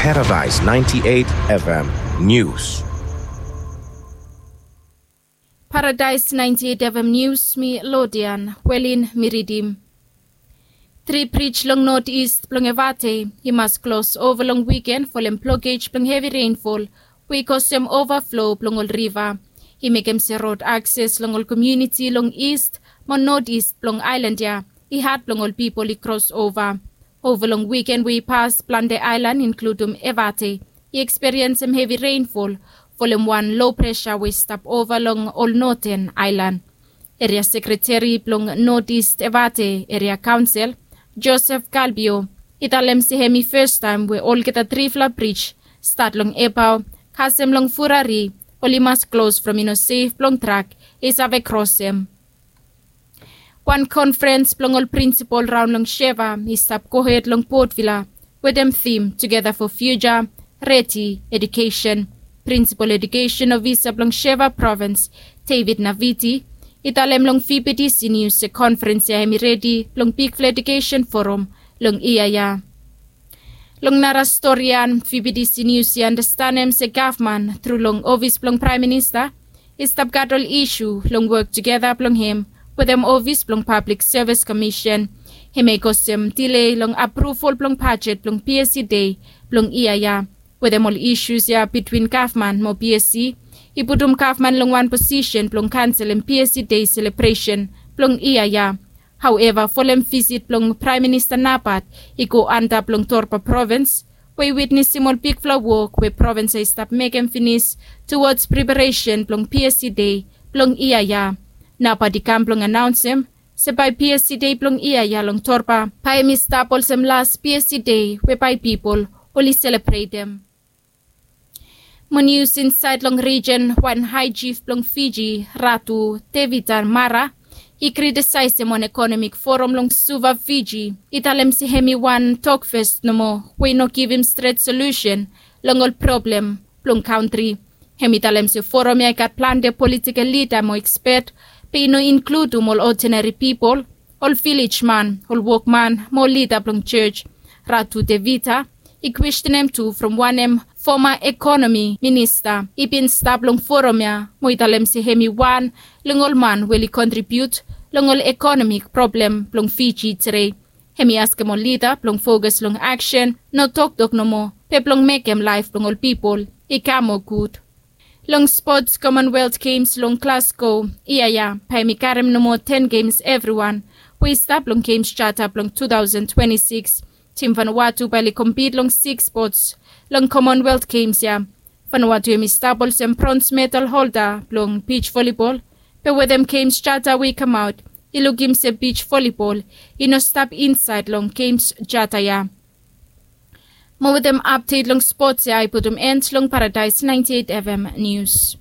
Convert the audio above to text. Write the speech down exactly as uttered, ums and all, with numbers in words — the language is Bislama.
Paradise ninety-eight F M News. Paradise ninety-eight F M News, mi Lodian Welin mi ridim. Tri brij long North East blong Evate i mas klos ova long wiken folem blokej blong hevi reinfol we i kosem ovaflo blong ol riva. I mekem se rod akses long ol komuniti long East mo North East blong aelan ya i had blong ol pipol i kros ova. Ova long wiken we i pas, plante aelan inkludum Evate i ekspiriensem hevi reinfol folem wan lo presa we i stap ova long ol noten aelan. Eria sekreteri blong North East Evate Eria Kaonsel, Joseph Galbio, i talem se hem i fastaem we olgeta trifala brij stat long Ebao kasem long Furari oli mas klos from i no sef blong trak i save krosem. Wan konfrens blong ol prinsipol raon long Sheva i stap gohed long Port Vila wetem tim Together for Future, Redi Education. Prinsipol Edukesen Ofisa blong Sheva Provins, David Naviti, i talem long V B T C News se konfrens ya hem i redi blong bigfala edukesen forum long yia ya. Long nara storian, V B T C News i anastenem se gavman tru long ofis blong Praem Minista i stap gat ol isu long wok tugeta blong hem wetem ofis blong Pablik Sevis Komisen. Hem i kosem dile long apruvol blong bajet blong P S E Dei blong yia ya. Wetem ol isus ya bitwin gavman mo P S E i putum gavman long wan posisen blong kanselem P S E Dei selebresen blong yia ya. Haoeva, folem visit blong Praem Minista Napat i go antap long Torba Provins we i witnesem ol bigfala wok we provins ya i stap mekem finis tuwods preparesen blong P S E Dei blong yia ya. Napat i kam blong anaonsem se bae P S E Dei blong yia ya long Torba bae hem i stap olsem las P S E Dei we bae pipol oli selebretem. Mo nius insaed long rijen, wan hae jif blong Fiji, Ratu Tevita Mara, i kritisaesem wan ekonomik foram long Suva, Fiji. I talem se hem i wan tokfes nomo we i no givim stret solusen long ol problem blong kantri. Hem i talem se foram ya i gat plante politikel lida mo ekspet, be i no inkludum ol odinari pipol, ol vilej man, ol wokman mo ol lida blong jos. Ratu Tevita i kwestenem tu from wanem foma ekonomi minista i bin stap long foram ya mo i talem se hem i wan long ol man we oli kontribiut long ol ekonomik problem blong Fiji tede. Hem i askem ol lida blong fokas long aksen, no toktok nomo, be blong mekem laef blong ol pipol i kam moa gud. Long spots, Commonwealth Games long Glasgow yia ya bae hem i karem nomo ten gems evriwan we i stap long Games Charter blong two thousand twenty-six. Tim Vanuatu bae oli kompit long six spots long Commonwealth Games ya. Vanuatu hem i stap olsem brons medal holda blong beach volleyball, be wetem Games Charter we i kamaot i lukim se beach volleyball i no stap insaed long Games Charter ya. Mo wetem apdet long spots ya i putum end long Paradise ninety-eight F M News.